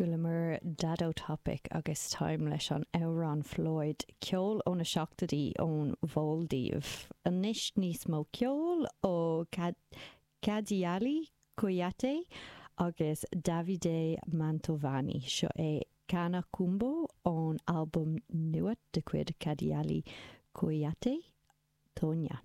Chualamar Dado Topic agus Time leis an amhrán Floyd, ceol ó na seachtóidí ón Mhaildív. Anois níos mó ceoil ó Kadialy Kouyate agus Davide Mantovani. Seo é Kana Kumbo ón albam nua de chuid Kadialy Kouyate, Tonya.